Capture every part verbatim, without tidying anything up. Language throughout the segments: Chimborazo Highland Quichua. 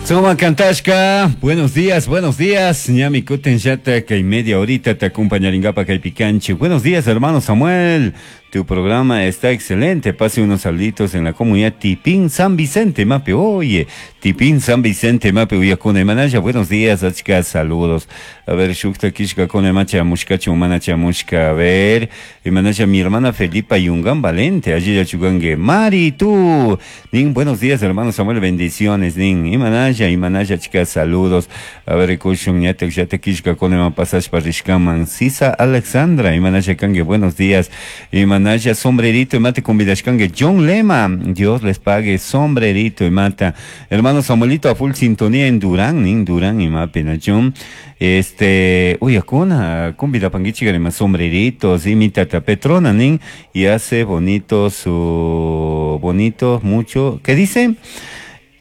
Suma kantashka, buenos días, buenos días. Ñami kutin llata kay media horita te acompañaringapa kay picanchi. Buenos días, hermano Samuel. Tu programa está excelente. Pase unos saluditos en la comunidad Tipín San Vicente, Mape. Oye, Tipín San Vicente, Mape, Uyakuna, Manaya. Buenos días, achka, saludos. A ver, Shukta Kishka, Kone Macha, Mushkachu, Manacha, Mushka. A ver, Manaya, mi hermana Felipa Yungán Valente. Allí ya chugangue. Mari, tú. Nin, buenos días, hermano Samuel. Bendiciones, Nin. Y Manaya, y Manaya, chicas, saludos. A ver, Kushun, Yatek, Yatek, Kishka, Kone, Mapasash, Parishkaman. Sisa Alexandra, y Manaya, Kangue, buenos días. Y Manaya, sombrerito y mate con vidashkangue. John Lema, Dios les pague, sombrerito y mata. Hermano Samuelito, a full sintonía en Durán, en Durán y mape, John. Este, uy, acuna, cumbida panguichi, más sombreritos, y mi tata Petrona, nin, y hace bonito su, bonito, mucho, ¿qué dice?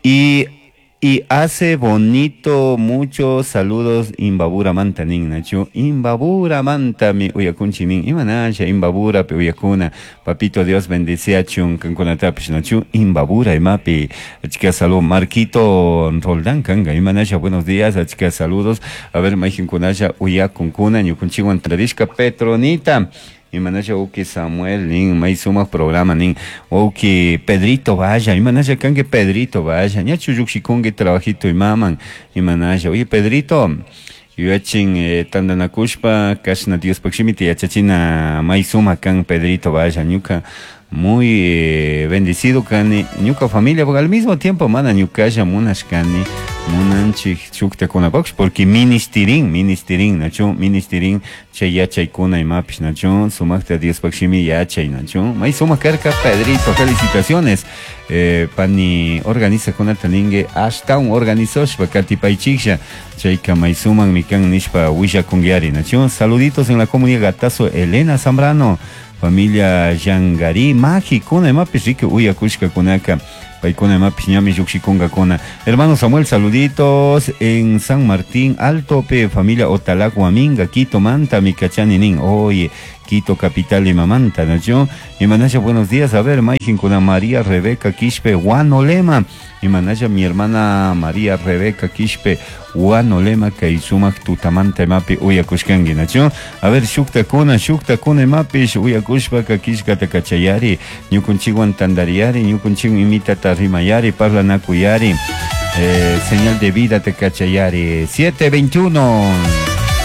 Y y hace bonito muchos saludos Imbabura manta nin nacho Imbabura manta mi uyakunchi nin imanasha Imbabura pe uyakuna papito Dios bendice achun kankunatapish nacho Imbabura imapi achika salud Marquito Roldán kanga imanasha buenos días achika saludos a ver mayjinkunasha uyakunkuna ñukunchiwan tradishka Petronita Imanasha uki Samuel nin may sumaq programa nin uki Pedrito vaya imanasha kanki Pedrito vaya ñachu llukshikunki trabajito imaman imanasha oye Pedrito yuyachin eh, tandanakushpa kashna Diospaq shimita yachachina may sumaq kan Pedrito vaya ñuka muy eh, bendecido kani ñuka familia porque al mismo tiempo mana ñukalla munashkani munanchik shuktakunapaqsh porque ministirin ministirin nachu ministirin chay yachaykuna imapish nachu sumaqta Diospaq shimi yachay nachu may sumaq karka Pedrito felicitaciones eh, pani organizakunata ningue ashtawan organizoshpa katipaychiklla chayka may sumakmi kan nishpa willakunkiari nachu saluditos en la comunidad Gatazo Elena Zambrano familia Yangari Mágico imapish riki uyakushkakunaka paykuna imapish ñami llukshikunqakuna hermano Samuel saluditos en San Martín Alto pe familia Otalac Huaminga Quito Manta mikachani nin oye Quito capital imamanta nacho imanasha buenos días a ver mayjinkuna María Rebeca Quispe Huanolema imanasha mi hermana María Rebeca Quispe Huanolema kay sumaq tutamanta imapi uyakushkanki nacho a ver shuktakuna shuktakuna imapish uyakushpaka killkata kachayari ñukunchikwan tantariyari ñukunchikwan imitata rimayari parlanakuyari eh, señal de vida te kachayari siete veintiuno.